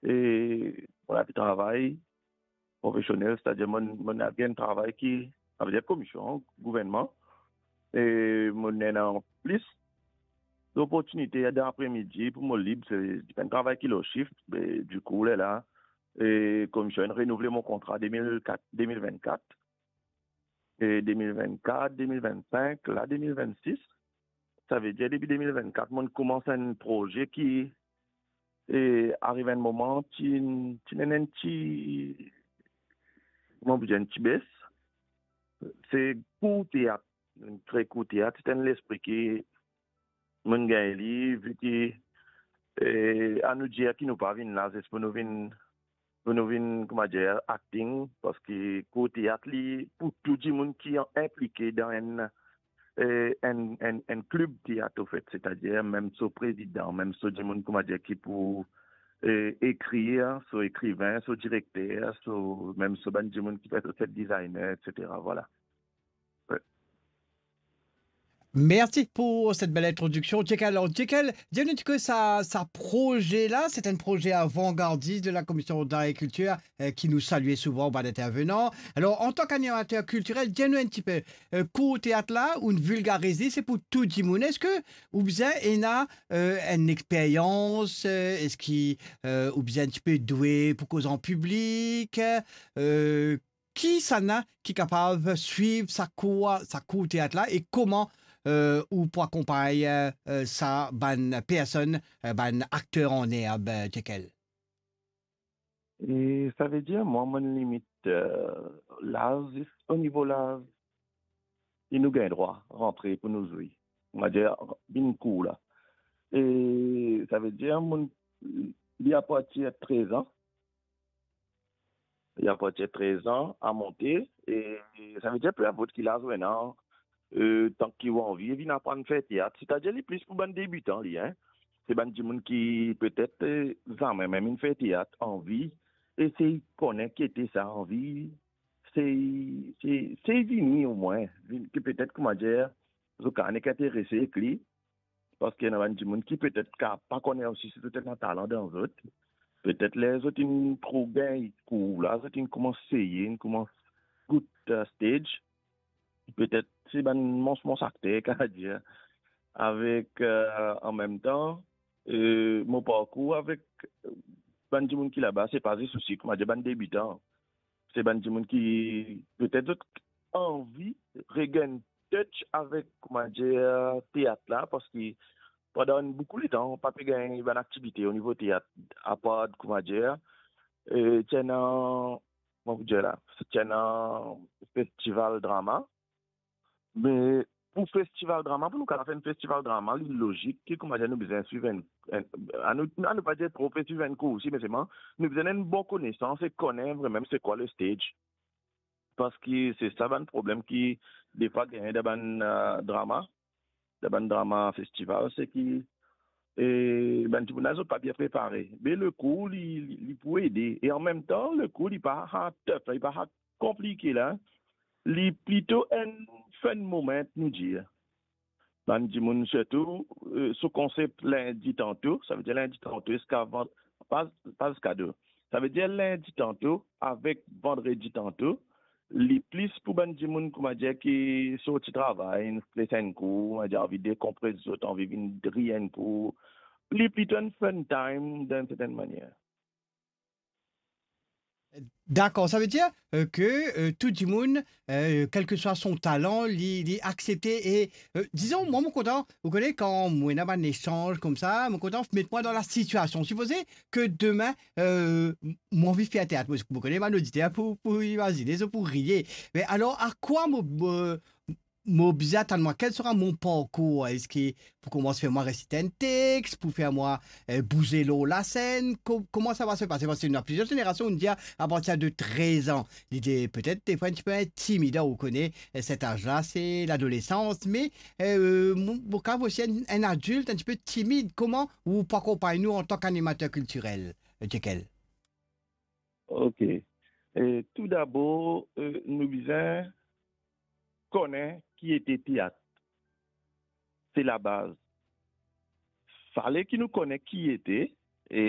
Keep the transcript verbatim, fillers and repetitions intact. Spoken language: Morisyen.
e mo al travay profesionel, setadir mo, mo al gagn travay ki, savedir komision gouvernman, e mo ena plis loportinite dan apremidi pou mo lib, se, se pa enn travay ki lor shift, me dikou, lerla, e komision inn renouvle mo kontra de mil kat, de mil vennkat, e de mil vennkat, de mil vennsink, la de mil vennsis. Savedir depi de mil vennkat, mo'nn koumans enn proze ki, e, ariv enn moman, ti, ti ena enn ti, kouma pou dir, enn ti bes. Se kour teat, enn kre kour teat, se enn lespri ki mo'nn gagn li, vi ki, e, anou dir ki nou pa vinn la zis pou nou vinn, pou nou vinn, kouma dir, acting, parski kour teat li pou tou dimoun ki inplike dan enn, e, enn, enn, enn klib teat, anfet, setadir mem so prezidan, mem so dimoun, kouma dir, ki pou, e, ekrir, so ekriven, so direkter, so, mem so bann dimoun ki fer so set designer, etsetera. Vwala. Mersi pou set bel introdiksion, Jekyll. Alor, Jekyll, dir nou enn tipe sa, sa proze la, se enn proze avangardis de la Commission d'Art et Culture, e, ki nou salie souvan bann intervenan. Alor, antan k'animater kiltirel, dir nou enn tipe, e, kour teat la, ou'nn vilgariz li, se pou tou dimoun. Eski ou bizin ena, e, enn experyans, e, eski, e, ou bizin enn tipe dwe pou koz an piblik, e, kisannla ki kapav swiv sa kour, sa kour teat la, e kouma, e, ou pou akonpagn, e, sa bann personn, e, bann akter an erb, e, Jekyll? E savedir, mwa, mo'nn limit, e, laz, zis o nivo laz, e nou gagn drwa rantre pou nou zwe. Kouma dir, vinn kour la. E savedir, mo'nn, li apartir trez an, li apartir trez an a monte, e savedir, pe inport ki laz ou ena, e, tanki ou anvi, vinn aprann fer teat. Setadir li plis pou bann debitan, li, en. Se bann dimoun ki petet, e, zame mem inn fer teat, anvi esey kone ki ete sa, anvi sey, sey, sey vini omwin, vinn, ki petet, kouma dir, zot kapav nek interese ek li, parski ena bann dimoun ki petet ka pa kone osi si zot ena talan dan zot. Petet ler zot inn trouv gagn kour la, zot inn koumans seye, inn koumans gout, e, stage. Petet se bann mons, mons akter, kapav dir. Avek, e, an mem tan, e, mo parkour avek, e, bann dimoun ki laba, se pa zis osi, kouma dir, bann debitan. Se bann dimoun ki petet zot anvi regagn touch avek, kouma dir, teat la, parski pandan boukou letan, pa pe gagn bann aktivite o nivo teat, apard, kouma dir, e, ti ena, kouma pou dir la, ti ena festival drama. Me pou festival drama, pou nou kapav fer enn festival drama, li lozik ki, kouma dir, nou bizin swiv enn, enn, anou, anou pa dir tro pe swiv enn kour osi, me selman nou bizin enn bon konesans e kone vremem se kwa le stage. Parski se sa bann problem ki defwa gagn dan bann, e, drama, dan bann drama festival, se ki, e, bann dimoun la, zot pa bien prepare. Me le kour, li, li, li pou ede. E an mem tan, le kour, li pa hard stuff, li pa hard konplike la, li plito enn fun moment, nou dir. Bann dimoun sirtou, e, so konsep lindi tanto, savedir lindi tanto ziska van-, pa, pa ziska de. Savedir lindi tanto avek vandredi tanto, li plis pou bann dimoun, kouma dir, ki sorti travay, inn stres enn kou, kouma dir, anvi dekonpres zot, anvi vinn ri enn kou. Li plito enn fun time, dan enn sertenn manier. Dakor, savedir, e, ke, e, tou dimoun, e, kelseswa son talan, li, li aksepte e, e, dizon, mwa, mo kontan, ou kone, kan mo ena bann esanz koumsa, mo kontan met mwa dan lasitiasion. Sipoze ke demin, e, m-, mo anvi fer teat, mo, mo kone bann oditer pou, pou imazine, zot pou riye. Me alor, a kwa mo, mo, mo bizin atann mwa, kel sera mo parkour? Eski pou koumans fer mwa resite enn text, pou fer mwa, e, bouze lor lasenn? Ko-, kouma sa va se pase? Parski nou ena plizier zenerasion, nou dir apartir de trez an. Li dir, petet, defwa, enn tipe intimidan, ou kone, e, set az la, se ladolesans, me, e, mo, mo kapav osi enn, enn adilt, enn tipe timid. Kouma ou pou akonpagn nou antan k'animater kiltirel, e, Jekyll? Ok. E, toudabor, e, nou bizin kone ki ete teat. Se labaz. Fale ki nou kone ki ete, e